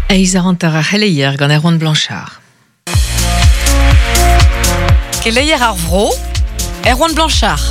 Eizh eur hanter ar c'heleier gant Erwan Blanchard. Keleier ar vro, Erwan Blanchard.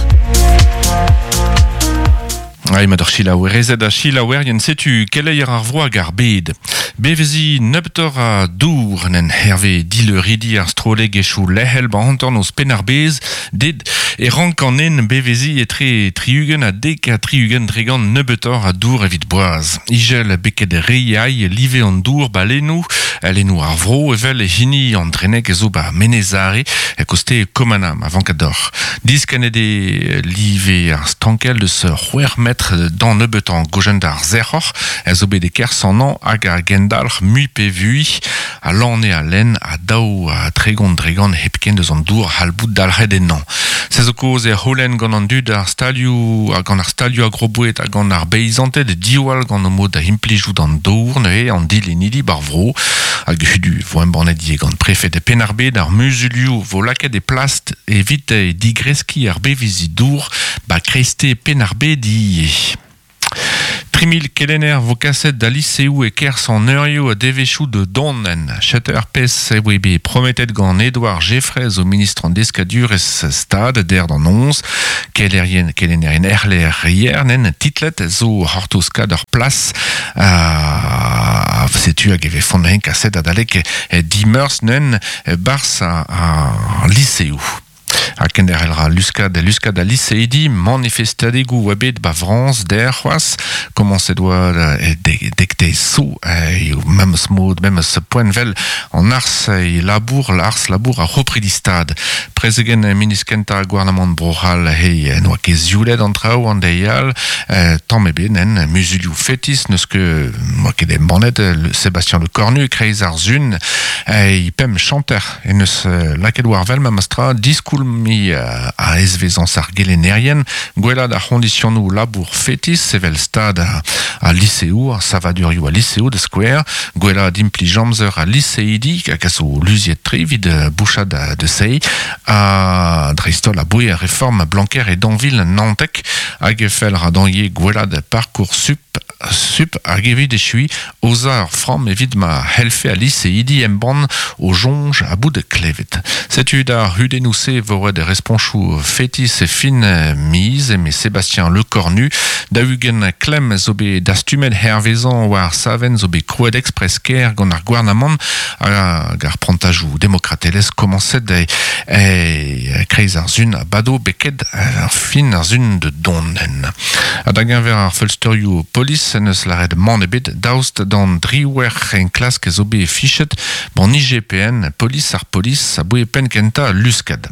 Ai mat ur selaouerezed ha selaouerien setu keleier ar vro hag ar bed. Bevezi nebeutoc'h a dour nen herve dileuridi ar strollegezhioù lec'hel ba hanternoz Penn-ar-Bez ded e rank an nen bevezi etre 60 ha 70% nebeutoc'h a dour evit boaz. Igel beket re ai live an dour ba lennoù, lennoù ar vro evel hini an Dreneg zo ba Menez-Are, koste Komana ma vank deoc'h. Diskennet eo live ar stankell deus c'hwec'h metr d'an nebeutañ gojenn d'ar sec'hor a zo bet e-kerzh an hañv hag a gendalc'h mui pe vui a lane a lenn ha 32% hepken deus an dour c'hall bout dalc'het ennañ. Se zo kaoz e c'houlenn gant an dud ar stalioù ha gant ar stalioù agroboued ha gant ar beizanted diwall gant o mod da implijout an dour neuze an dilennidi bar vro hag hudu vo embannet ivez gant prefed Penn-ar-Bed ar muzulioù vo lakaet e plast evit digreskiñ ar beveziñ dour ba kreiste Penn-ar-Bed ivez. 3000 kelenner vo kaset da liseoù e-kerzh an eurioù ha devezhioù da dont en Setu ar pezh e voe bet prometet gant Edouard Geffray zo ministr an deskadurezh stad der d'an noz. Kelerien kelennerien erlec'hier nen titlet zo c'hortoz kad ur plas ha setu hag e vefont hen kaset adalek dimeurzh nen 'barzh ar liseoù. Ha kenderc'hel ra luskad luskad al liseidi manifestadegoù oa bet ba Frañs der c'hoazh. Komañset oa dek so eo memes mod, memes poent 'vel an arz e labour, l'arz labour ar c'hopridi stad. Prezegenn ministr kentañ gouarnamant Bro-C'hall he n'oa ket zioulet an traoù an deiz all. Tamm ebet nen muzulioù fetis n'eus ket n'oa ket embannet Sébastien Lecornu e-kreiz ar sun e pemp chanter en deus lakaet war wel memestra diskoulmiñ a ezvezañs ar gelennerien, gwellaat ar c'hoñdisionoù labour fetis evel stad al liseoù, ar savadurioù al liseoù da skouer, gwellaat implij amzer al liseidi hag a zo luziet-tre evit bouchañ da se, ha dreist-holl aboe ar reform Blanquer e 2019 hag e fell ra dezhañ ivez gwellaat Parcoursup Sup hag evit echuiñ aozañ ur framm evit ma c'hellfe al liseidi embann o soñj ha bout klevet. Setu d'ar c'hudennoù-se e vo ret responchoù fetis e fin miz, eme Sébastien Lecornu. 40 klemm zo bet dastumet hervezañ war ar savenn zo bet krouet express-kêr gant ar gouarnamant hag ar prantajoù demokratelezh komañset e kreiz ar sun a bado beket ar fin ar sun de dont. Ha da geñver ar feulsterioù polis en deus lâret mann ebet daoust d'an driwec'h enklask zo bet fichet gant IGPN, polis ar polis, aboe penn kentañ al luskad.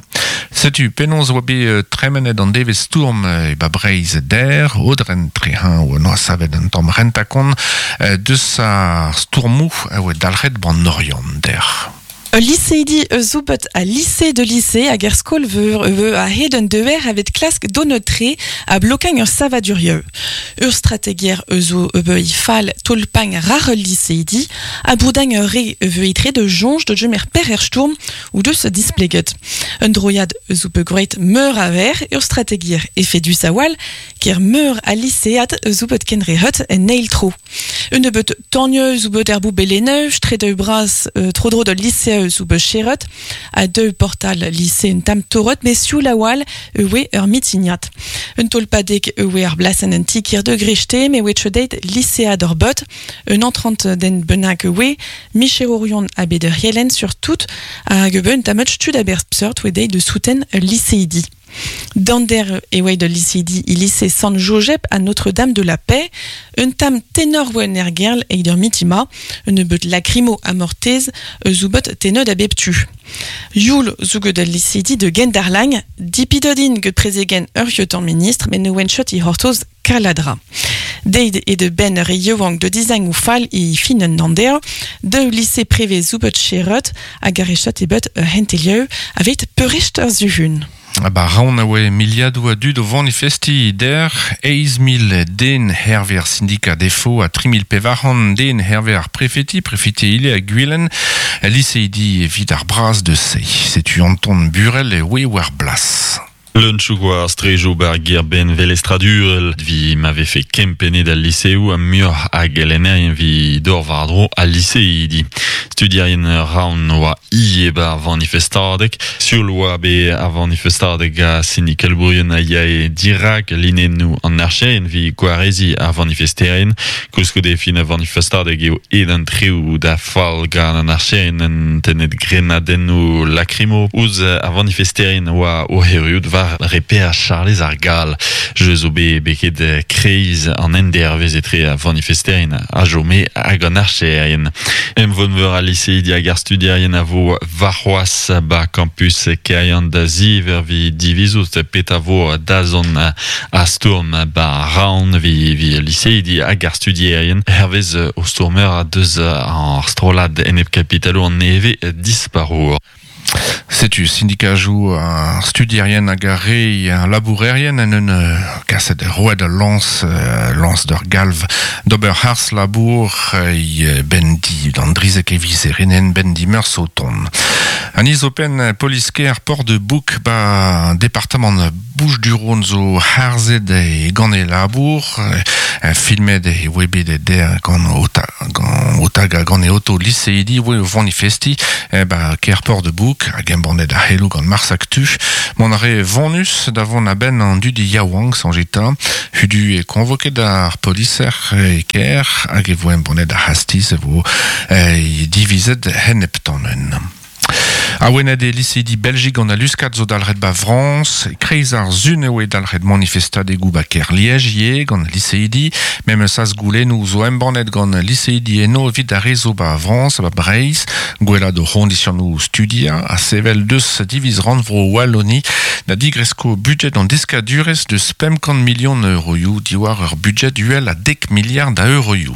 Setu penaos oa bet tremenet an devezh stourm e ba Breizh der, Aodren Trehañv noa savet un tamm rentañ-kont deus ar stourmoù a oa dalc'het ban Oriant der. Ul liseidi eus Zoubet ha lise de lycée hag er skol-veur eo a-hed un dever evit klask donet-tre ha blokañ ur savadurioù. Ur strategier eus o eo fall tolpañ rar ul liseidi ha broudañ ur re eo etre de soñj da gemer perzh er stourm o deus displeget. Un droiad eus o bet meur a ver ur strategier efedus a-walc'h ker meur a lisead eus o bet kenrehet en eil tro. Un nebeud tanioù zo bet er boubellennoù, stredoù bras tro-dro d'ul lise zo bet cheret, ha deu portal lise un tamm torret, met sioul a-walh e oe ur mitignad. Un tolpadeg e oe ar blasenn un ti-kêr de Grechte, met oe deit lisead ur bot, un entrant den bennak e oe, micherourion ha bet ur yelenn surtout, hag e un tamm tud a-berzh seurt oe deit de souten ul liseidi. Dander e oa da liseidi e lise Sant-Jojeb ha Notre-Dame de la Paix, un tamm tenor oa en ergerl eget ur mitima, un nebeud lakrimo amortez eus oubet tenod a bep tu. Youl zo get al liseidi de Gendarlagn, dipidot int get prezegenn ur yeutañ ministr met ne oent chot e c'hortoz Kaladra. Deit eo da benn ur re yaouank da dizagnoù fall e fin an Ander, daou lise prevez zo bet cheret hag ar re chot eo bet ur c'hentelioù aveit peurrest ar suhun. Ba Raon a oe miliadoù a dud o vanifestiñ der, 8,000 den hervez ar sindika defo ha 3,400 den hervez ar prefeti, prefeti ivez a Gwilen, liseidi evit ar braz deus se. Setu Anton Burel e oe war blas. Leun chouk oa ar strejoù bar ger-benn velestradurel vi ma vefe kempennet al liseoù ha muioc'h a gelennerien vi dor war-dro al liseidi. Studierien raon oa ie bar vanifestadeg, sul oa be a vanifestadeg a sindikalbourien a yae dirak linennoù an archerien vi gwarezi ar vanifesterien. Koulskoude fin a vanifestadeg eo ed an treoù da fall gant an archerien en tenet grenadennoù lakrimo ouzh ar vanifesterien oa o heriout war reper Charlez ar Gall. Je zo be beket kreiz an endervez etre a vanifesterien a jome hag an archerien. Em vonveur a liseidi hag ar studierien a vo varc'hoaz ba campus Kerian da ziver vi divizout pet a vo dazon a stourm ba raon vi, vi liseidi hag ar studierien. Hervez o stourmer a deus ar strolad enep kapitalo an neve disparour. Setu syndikajou ar studierien hag ar re ar labourerien en un kaset roet a lans, lans d'ur galv d'ober harz labour ben di d'an drizek e vizerenen ben di meurs o ton. An izopen polisker port de Bouk ba departement Bouches-du-Rhône zo harzet e gant e labour, filmet e oe bet e der gant ota, gant otag ha gant e oto liseidi oe o vanifesti ba ker port de Bouk hag embannet a hello gant Mars Actu. Mon a re vonus da vont a ben an dudi yaouank sanjeta, hudu e konvoket ar poliser e ker hag e vo embannet ar hastiz e vo divizet heneptanen. A wenet e liseidi Belgik gant a luskat zo dalret ba Frans, kreiz ar zun eo e dalret manifestadegou ba ker Liège gant liseidi, mem saz goulennou zo embannet gant liseidi eno evit ar rezo ba Frans, ba Breiz, gwella do c'hondisionou studia, a sevel deus diviz rannvro Wallonie, da digresko budget an deskadurez deus 5 million euroioù diwar ur budget duel a dek milliard a euroioù.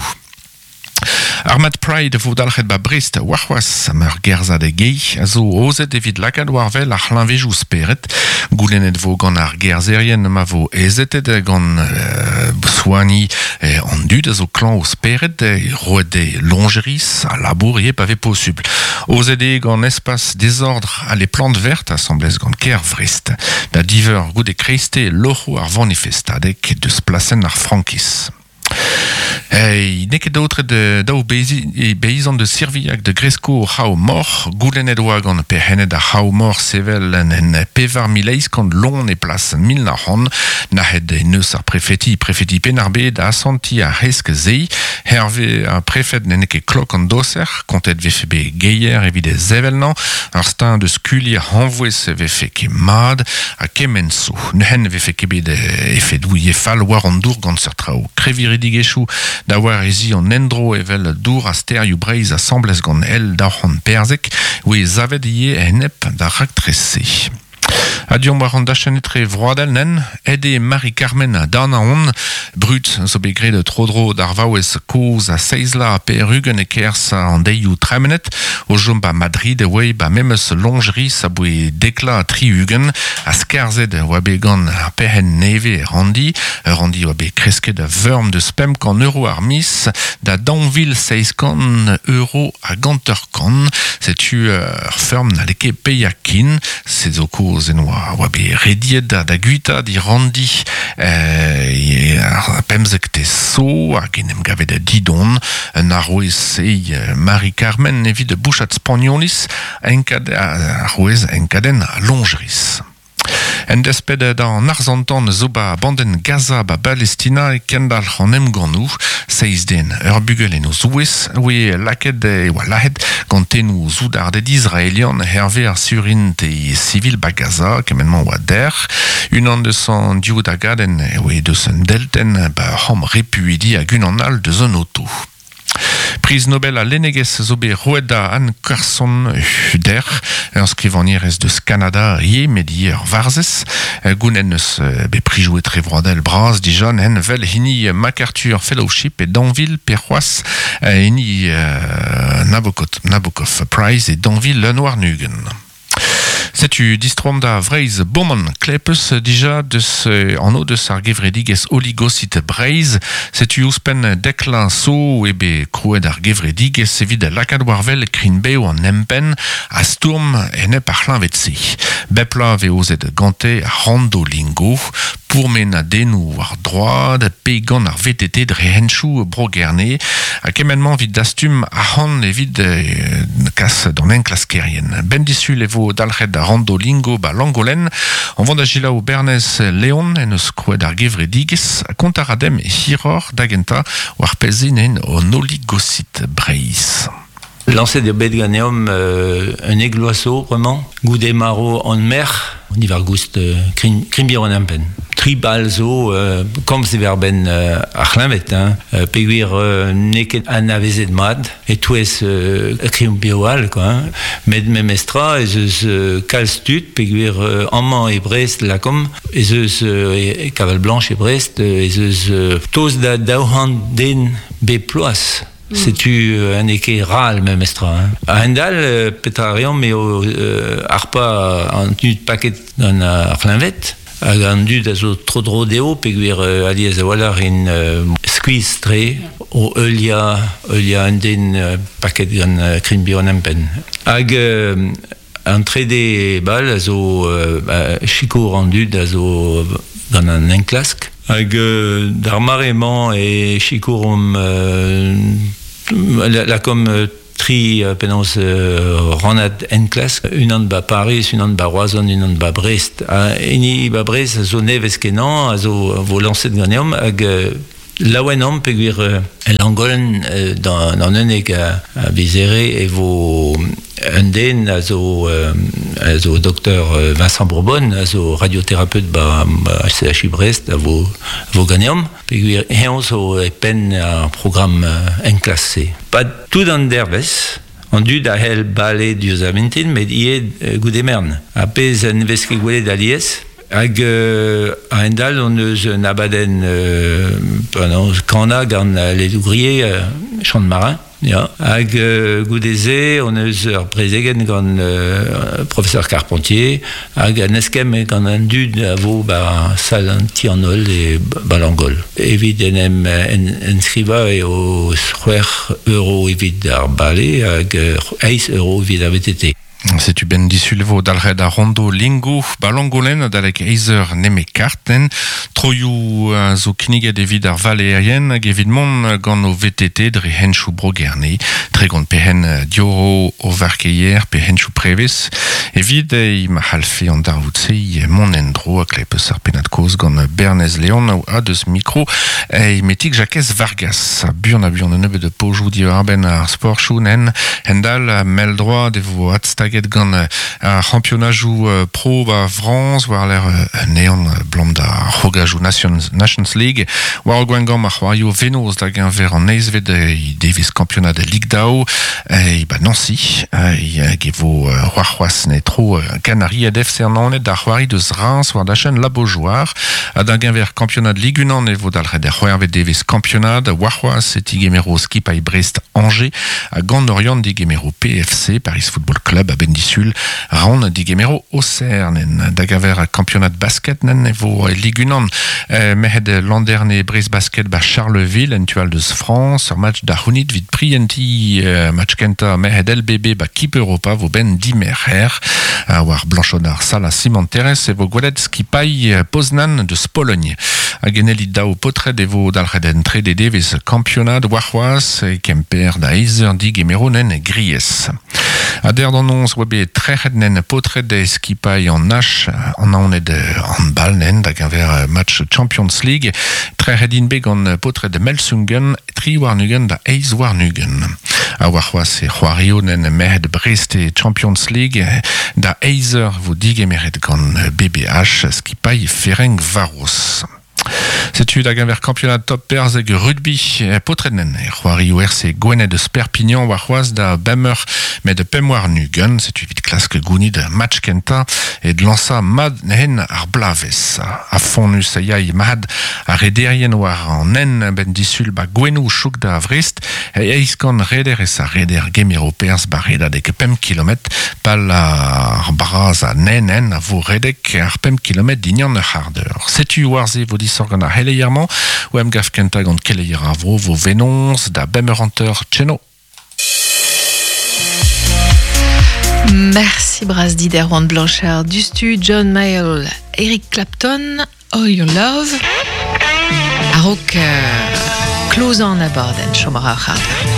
Armad Pride vo dalc'het ba Brest warc'hoaz am ur gerzad e gei a zo ozet evit lakaat war vel ar c'hlañvejoù speret. Goulennet vo gant ar gerzerien ma vo ezetet gant soani an dud a zo klañv o speret, roet e longeris a labour ie pa ve posubl. Ozet eo gant espas désordre a les plantes vertes assemblez gant ker Vrest. Da diver goude kreiste loc'ho ar vanifestadeg deus plasen ar Frankis. Ei, neket daotre de daou beizan de Sirviak de Gresko c'hao mor, goulennet oa gant perc'hennet ar c'hao mor sevel en en pevar mileiz kant lon e plas mil na c'hant, nahet neus ar prefeti, prefeti Penarbe da asanti ar hesk zei, Hervé ar prefet n'en ket klok an doser, kontet vefe be geier evit e zevelnañ, ar stin de skulier hanvouez vefe ket mad, ha kement so. Neuhen vefe ket bet efedoù fall war an dour gant seurt traoù. Kreviridigezhioù da war ezi an endro evel dour a sterioù Breizh asamblez gant el da c'hant perzek, oe zavet ie enep da raktrese. Adion war an dachenn etre vroadel nen, ede Marie-Carmen dan a on, brut zo bet graet tro-dro d'ar vaouez koz a seizla perugen e kerz an deioù tremenet, o jom ba Madrid e oe ba memes longeris a boe dekla tri-ugen, a skarzet oa bet gant ar perc'henn neve randi, randi oa bet kresket a veurm deus pemp kant euro ar mis, da daou vil seizh kant euro a ganteur kant, setu ur feurm n'halle ket paeañ kin, se zo koz en oa bet rediet da guita di randi ar pemzek te so hag en em gavet da didon un arouez e Marie-Carmen evit bouchat spagnolis enkad arouez enkadenn longeris. En desped d'an arzantan zo ba banden Gaza ba Palestina e kendal an emgannoù, seiz den ur bugel en o zouez, oe laket e oa lahet gant tennoù zoudarded israelian herve ar surint e civil ba Gaza, kement-mañ oa der. Unan deus an div dagadenn oe deus un deltenn ba c'ham repuidi hag unan all deus un oto. Priz Nobel a lennegezh zo bet roet da Anne Carson der, ur skrivagnerez deus Kanada ie met ie ur varzhez, goulenn eus bet prijouet tre vroadel bras dija nen vel hini MacArthur Fellowship e Danville pe c'hoazh hini Nabokov Prize e Danville Lenoir-Nugen. Setu distrom da Vreiz Boman klepus dija deus anno deus ar gevredigez oligosit Breiz. Setu ouzhpenn dekla so ebe krouet ar gevredigez evit lakaat war wel krinbeo an empenn a stourm enep ar c'hlañved-se. Bepla ve ozet gante randolingo pourmen a denou war droad pe gant ar VTT dre henchou bro gerne a kement-mañ evit dastum ar evit kas d'an enklaskerien. Ben disul e vo dalc'het ar randolingo ba Langolen, on vant da gilaou Bernez Leon en eus krouet ar gevredigez kont ar adem hiror da genta war pezin en on oligosit Breiz. Lancet eo bet ganeomp un egloaso, vraiment. Goude maro an mer, on y var goust krimbier an ampen. Tri bal zo, komz e ver ben ar c'hleñvet, hein. Peogwir n'eo ket anavezet mat, e touez krimbier all, quoi, hein. Met memestra ez eus kalz tud, peogwir amañ e Brest lakom, ez eus e Kaval Blanche e Brest, ez eus toz da daouhant den bep ploaz. Setu un ket ral memestra. Hein. A hendal, petra reomp eo arpa an tud paket gant ar c'hleñved, hag an dud a zo tro-dro dezho, peogwir alies a-walc'h in skuizh tre o heuliañ un den paket gant krimbier an empenn. Hag an trede bal a zo sikour an dud a zo gant an enklask. Hag d'ar mare-mañ e sikouromp lakom tri penaos rannad enklask, unan ba Paris, unan ba Roazhon, unan ba Brest. Ha hini ba Brest a zo nevez kenañ, a zo vo lañset ganeomp, hag laouen omp peogwir Langolen d'an unnek a viz Here e vo un den a zo docteur Vincent Bourbon, a zo radiothérapeute ba CHU Brest, a vo ganeomp. Peogwir eñ zo e penn ar programm enklask-se. Pa tout an dervez, an dud a c'hell bale diouzh ar mintin, met ivez goude mern. Ha pezh en vez ket gwelet alies. Hag a hendall on eus un abadenn kana gant les ouvriers chant marin. Ja. Hag goude-se on eus ur prezegenn gant professeur Carpentier hag an eskemm gant an dud a vo ba sal an ti an holl e Balangol. Evit en em enskrivañ eo c'hwec'h euro evit ar bale hag eizh euro evit ar VTT. Setu ben disul vo dalc'het ar rondo lingo ba Langolen adalek eizh neme kartenn. Troioù zo kinniget evit ar valeerien hag evit mont gant o VTT dre henchoù bro Gerne. Tregont pe hen dioro o varkeier pe henchoù prevez. Evit ma c'hallfe an darvoud-se mont en-dro a klepes ar pennad kozh gant Bernez Leon a deus mikro e metik Jakez Vargas. Buan a buan un nebeud pojoù diwar-benn ar sportchoù nen hendal mell droad e vo adstaget gant ar c'hampionajoù pro ba Frañs war l'er neon blam da c'hrogajoù Nations League war ar Gwengamp ar c'hoarioù Venoz da geñver an eizhvet devez kampionad Ligue Dao e ba Nancy hag e vo war c'hoazh ne tro Canariad FC an Naoned da c'hoari deus Reims war dachenn La Beaujoire ha da geñver kampionad Ligue 1 e vo dalc'het ar c'hwec'hvet devez kampionad war c'hoazh e tigemero skipailh Brest Angers ha gant Orient digemero PFC Paris Football Club a ben disul Raon digemero Auxerre da geñver kampionad basket nen e vo Ligue 1 merc'hed Landerne Brest Basket ba Charleville en tual deus France ur match da c'hounit vit prienti match kentañ merc'hed LBB ba Kip Europa vo ben dimerc'her war Blanchonard Sala Simanterez e vo gwelet skipailh Poznan deus Pologne hag en elit daou potred e vo dalc'het en trede devez kampionad war c'hoazh e Kemper da eizh digemero nen Gries. A der d'an oñs oa bet trec'het nen potred e skipailh an H an Naoned handball nen da geñver match Champions League trec'het int bet gant potred Melsungen tri warn-ugent da eizh warn-ugent. A war c'hoazh e c'hoario nen merc'hed Brest e Champions League da eizh eur vo digemeret gant BBH skipailh Ferencváros. Setu da genver kampionat top perzeg rugby potrenen e c'hoari RC Gwened eus Perpignan war c'hoaz da bemeur met pemwar nugen, setu evit klask gounid match kenta e lansa mad hen ar blavez. A fonus a yai mad a rederien war an en ben disul ba gwenou chouk da Vrest e eiz gant reder e sa reder gemiro perz ba redadek pem kilomet pal ar braz a nen en a vo redek ar pem kilomet dignan ur c'hardeur. Setu war ze vo disor gant ar heleier-mañ, o em gaf kenta gant keleier ar vro vo venons da bemeur anteur tcheno. Merci Brasdi d'Erwan Blanchard, Dustu, John Mayall, Eric Clapton, All Your Love. A-raok klozan abadenn chom a ra ar c'hardeur.